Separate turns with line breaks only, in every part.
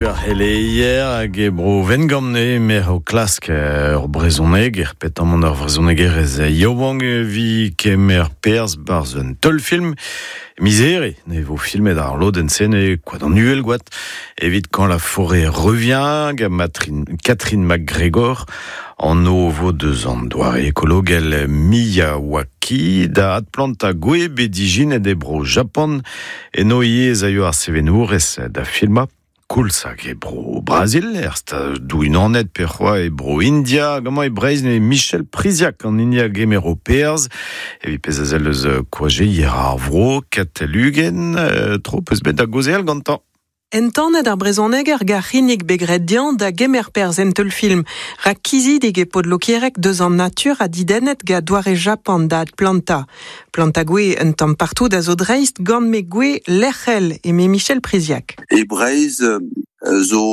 Ar c'heleier hag e bro Wengamp emaer o klask ur brezhoneger, petamant ur vrezhonegerez yaouank evit kemer perzh 'barzh un teulfilm. Miz Here ne vo filmet ar lodenn-se e Koad an Uhelgoad evit Quand la forêt revient gant Catherine MacGregor. Anv vo deus an doare ekologel Miyawaki da adplantañ gwez bet ijinet e bro Japan. Eno ivez ez aio ar sevenourez da filmañ. Koulz hag e bro Brazil, er Stadoù-Unanet pe c'hoazh e bro India, hag amañ e Breizh eo Michel Priziac an hini a gemero perzh. Evit pezh a sell eus koajeier ar vro, Katell Uguen, tro 'peus bet da gaozeal gantañ.
Entanet ar brezhoneger gant c'hinnig bet graet dezhañ da gemer perzh en teulfilm, rak kizidik eo paotr Lokiereg deus an natur ha didennet gant doare Japan da adplantañ. Plantañ gwez un tamm partout a zo dreist gant me gwez lec'hel, eme Michel Priziac.
E Breizh zo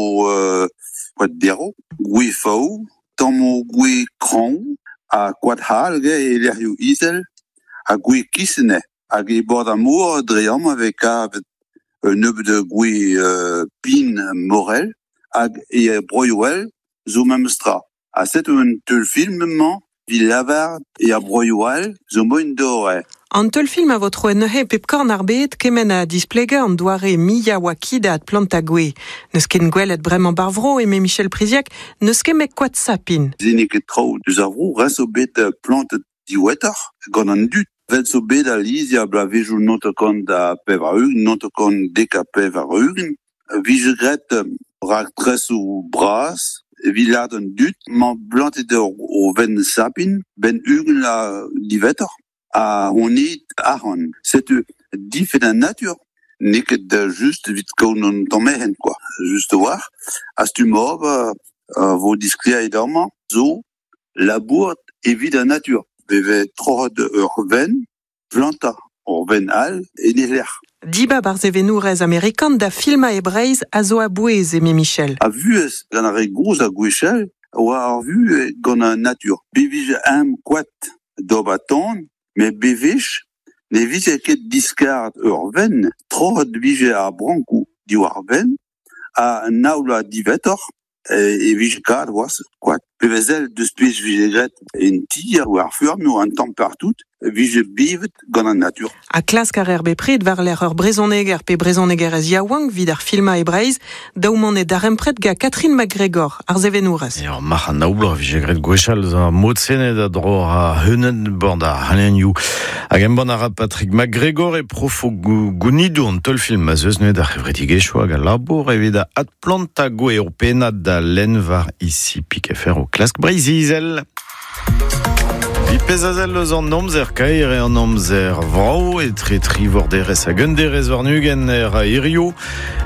koad derv, gwez faou, tammoù gwez kraoñ ha koad c'hall e lec'hioù izel ha gwez kisene. Hag e bord ar mor dre amañ e vez kavet un nebeud gwez pin morel hag e broioù all zo memes tra. Ha setu un teulfilm-mañ evit lavaret e ar broioù all zo moaien d'ober.
An teulfilm a vo troet neuze e pep korn ar bed kement ha displegañ an doare Miyawaki da adplantañ gwez. N'eus ket gwelet bremañ 'bar vro, eme Michel Priziac, n'eus ket met koad sapin.
Se n'eo ket traoù deus ar vro, rest zo bet plantet diwezhatoc'h gant an dud. Vel zo bet alies er bloavezhioù 1980, 1990, vije graet raktresoù bras evit lâret an dud 'mañ plantet o venn sapin 'benn 20 vloaz diwezhatoc'h ha gonit arc'hant. Setu difenn an natur n'eo ket just evit kaout an tamm ec'hen kwa, just a-walc'h. Ha stumm ober vo disklêriet amañ zo labourat evit an natur. E vez troc'het ur venn plantañ ur benn all en e lec'h.
Dibab ar sevenourez amerikan da filmañ e Breizh a zo a-bouez, eme Michel.
A vuhez gant ar re gozh ha gwechall oa ar vuhez gant an natur. Be vije eñ koad d'ober tan, met bewech ne vije ket diskaret ur venn, troc'het vije ar brankoù diwar benn ha nav vloaz diwezhatoc'h e vije kavet c'hoazh koad. Pe vez deus pezh vije graet en ti war ar feurm un tamm partout vije bevet gant an natur.
Ha klask a reer bepred war-lerc'h ur brezhoneger pe brezhonegerez yaouank evit ar filmañ e Breizh, daou mont e darempred gant Catherine MacGregor, ar sevenourez.
Ur marc'h an aoubloaz a vije graet gwechall ar mod-se da dro ar c'heuneud bord ar c'halenioù. Hag embann a ra Patrick MacGregor e profo gounidoù an teulfilm ma 'z eus neuze d'ar c'hevredigezhioù hag al labour evit adplantañ gwez ur pennad da lenn war ici Picaffer o klask Breizh-Izel. Pezh a sell eus an amzer kaer eo an amzer vrav etre tri vorderez hag un derez warn-ugent er hirio.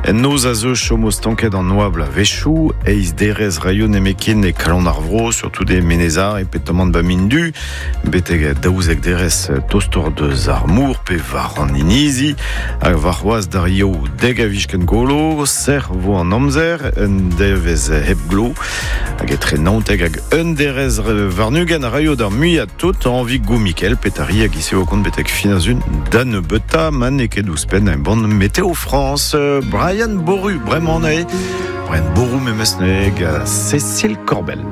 En noz a zeu chomo stanket an oabl a-wechoù, eizh derez raio nemetken e kalon ar vro, surtout e Menez-Ar e petamant ba Mindu, betek daouzek derez tostoc'h deus ar mor pe war an inizi, hag warc'hoazh d'ar yaou dek a vij ken golo, sec'h vo an amzer, un devezh hep glo. Hag etre naontek hag un derez warn-ugent a raio d'ar muiañ tout anvi Gomikel Petari hag eo kont betek fin ar sun da nebeutañ ma n'eo ket ouzhpenn embann Météo France. Brian Boru bremañ eo. Brian Boru memes neuze gant Cécile Corbel.